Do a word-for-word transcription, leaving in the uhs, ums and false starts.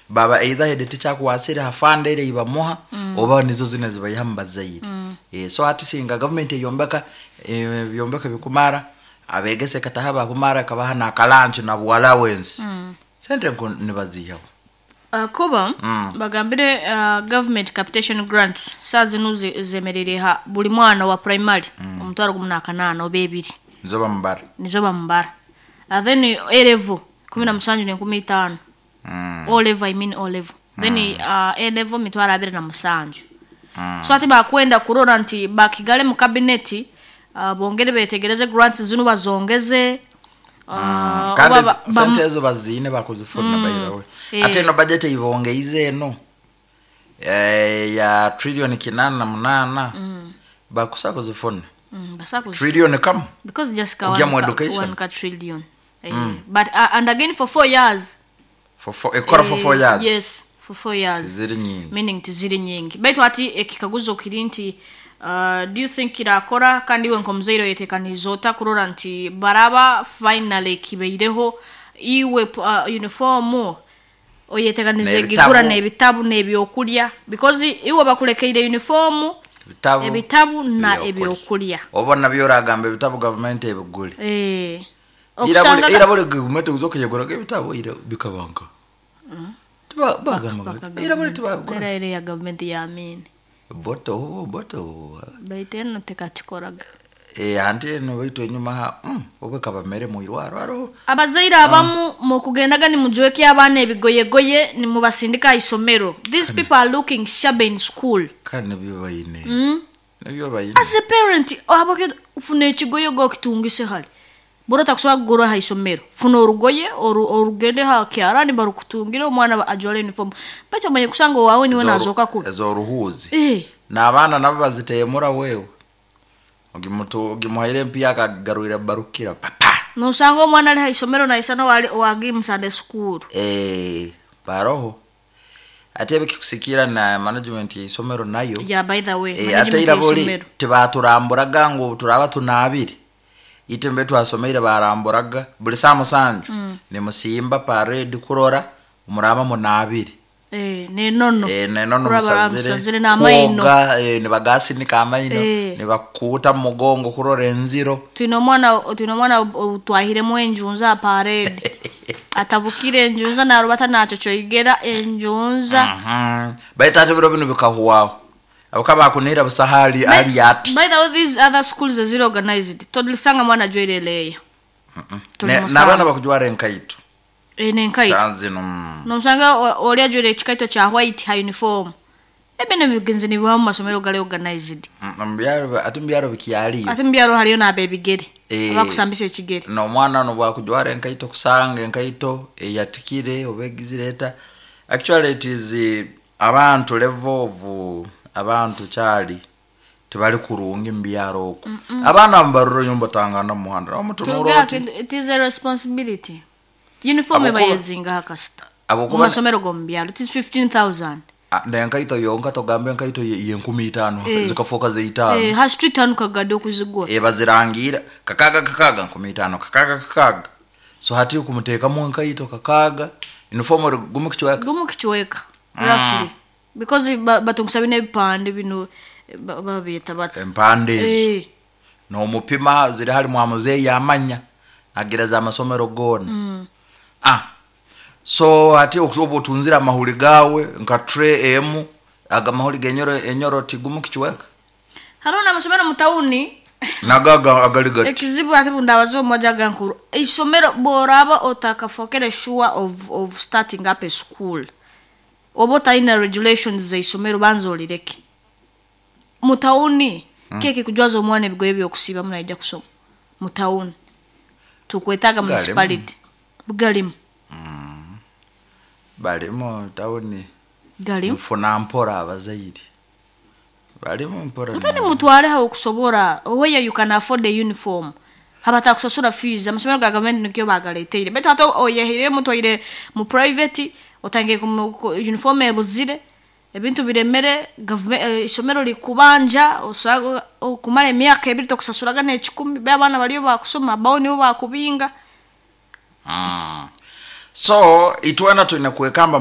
Baba either head teacher akuwasire hafande ile ibamuha oba nizo zine zibayiha mu bazaire. Eh, so hati singa government eyombeka eh, byombeka bikumara, abegese kataha bakumara, kabaha na kalanchi na allowance, sente nko nibazihaho. Uh, kuba Mm. bagambire uh, government capitation grants saa zinu zi- zemerere ha buli mwana wa primary omutwaro gumu n'akanaana oba ebiri. Nizo bamubara. Nizo bamubara. uh, then A level kumi na musanju n'enkumi itaano. mm. O level, I mean O level. Then uh, A level mitwaro abiri na musanju. Mm. So ati bakwenda kurora nti bakigale mu kabineti, uh, bongere betegereze grants zinu bazongeze, uh, Kandi oba ba- sente bam- ezo bazine bakuzifuna, by the way. Eh. Ate eno budget ibongeize eno eh, ya trillion kinana na munana, bakusa kuzifuna. Mm, basakuzi- Trillion kamu because just ka Kujya one mu ka- education. one ka trillion, eh, but uh, and again for four years. For four, ekora for four Eh, years. Yes, for four years. Ziri nyingi. Meaning tiziri nyingi, baitu ati ekikaguzo kiri nti uh, do you think kirakora? Kandi iwe nkomuzaire oyetekaniza ota kurora nti baraba finally kibeireho iwe uh, uniform oyetekaniza N'ebitabu. egigura n'ebitabu n'ebyokulya, because iwe bakulekeire uniform, ebitabu, ebitabu na ebyokulya. Ebyokulya. Oba nabyo oragamba ebitabu gavumenti ebigule. Eh, Ira buli- okusanga ira buli gavumenti uzokeyaguraga ebitabu, ira bikabanka. Tiba- bagamba bati, ira buli tibabigura. Era era ya gavumenti yamini. Boto boto. Baitu eno tekakikoraga. Eh, anti eno baitu enyuma ha mm, obe kabamere mwirwaro aro. Abazaire abamu mukugendaga nimujweke abaana ebigoyegoye nimubasindika aha isomero. These people are looking shabby in school. Kandi nibyo bayine, mm? nibyo bayine. As a parent, abake funa ekigoyego okitungise hali bora takusobola kugura aha isomero, funa orugoye oru- orugende ha kyarani barukutungire, omwana ba- ajwale uniform, baitu omanye kusanga owawe niwe nazoka kubi. Ezoruhuzi. Eh, N'abaana nabo baziteemura wewe ogimutu ogimuhaire empiya akagarwira barukira papa. Nosanga omwana ali ha isomero naisana wali wagi mu Sunday school. Eh, baroho ate ebikikusikira na management y'isomero nayo. Yeah, by the way, Eh, management ate ira buli y'isomero. tibaturamburaga ngu turaba tunabire ite mbe twasomeire, baramburaga buli saa musanju mm. nimusimba parade kurora muraba munabire. Eh, nenono. Eh, nenono. Kuraba musazire musazire n'amaino. kwoga, eh, nibagasinika amaino, Eh. nibakuuta mu mugongo kurora enziro. Twine omwana twine omwana o- twahiremu enjunza aha parade, atabukire enjunza narubata nakyokyogera enjunza. Mhm. Baitu ate biro bino bikahuwaho abuka bakunira busahali ali ati. By the way, these other schools eziri organized tolisanga mwana ajwaire leya. Tuli Ne- musanga. N'abaana bakujwara enkaito. Eh, nenkaito. Saa zino mm. Nomusanga o- oli ajwaire ekikaito kya white ha uniform, ebyo nebigenzi nibiba mu masomero gali organized. Mm, mubyaro, ate mubyaro bikyaliyo. Ate mubyaro haliyo n'abebigere Eh. abakusambisa ekigere. N'omwana ono bwakujwara enkaito, kusanga enkaito eyatikire oba egizire eta. Actually it is eh, abantu level of eh, abantu kyali tebali kurungi mubyaro okwo, abaana mubaruro nyumba tangana mumuhanda omutunura Tuga oti. it is a responsibility. Uniform Abokuba- eba yezinga hakasita mu abokuba masomero g'omu byalo it is fifteen thousand. Ah, nenkaito yonka, togambe enkaito ye- yenkumi itaano, Eh. zikafuuka zeitaano. Eh, ha street hanu kagadde okuzigula. E, bazirangira kakaga kakaga, nkumi itaano, kakaga kakaga. So hati kumuteekamu enkaito kakaga, uniform eri gumu kichweka. Gumu kichweka roughly, because ba- batungisa bino ebipande bino, eh, ba- babyeta bati Empande ezo. Eh, Nomupima ziri hali mwamuzeeyi amanya agereza amasomero goona. Ah, so hati oba otunzire amahuri gawe nka tray emu, aga mahuri genyoro enyoro tigumu kichweka. Hariho n'amasomero mu tawuni. Nago aga- agali gati. Ekizibu ate bundabaza omumoja gankuru isomero bworaba otakafokere sure of, of starting up a school, oba otalina regulations zeisomero, banza olireke. Mu tawuni mm. keke kujwaza omwana ebigoye byokusiibamu naija kusoma mu tawuni, tukwetaaga Galimu. municipality galimu. Balimu tawuni. Galimu. Nfuna mpora, abazaire balimu mpora. Ate nimutwale awo okusobola where you can afford a uniform, habatakusasura fees. Amasomero ga gavumenti nikyo bagaleteire, baitu ate oyehireyo mutwaire mu private, otangiye kumu- ku- uniform ebuzire, ebintu biremere, gavume- eh, isomero likubanja osaga okumara emyaka ebiri tokusasuraga n'ekikumi, be abaana baliyo bakusoma bawo nibo bakubinga. Mm. So itwena twine kwekamba.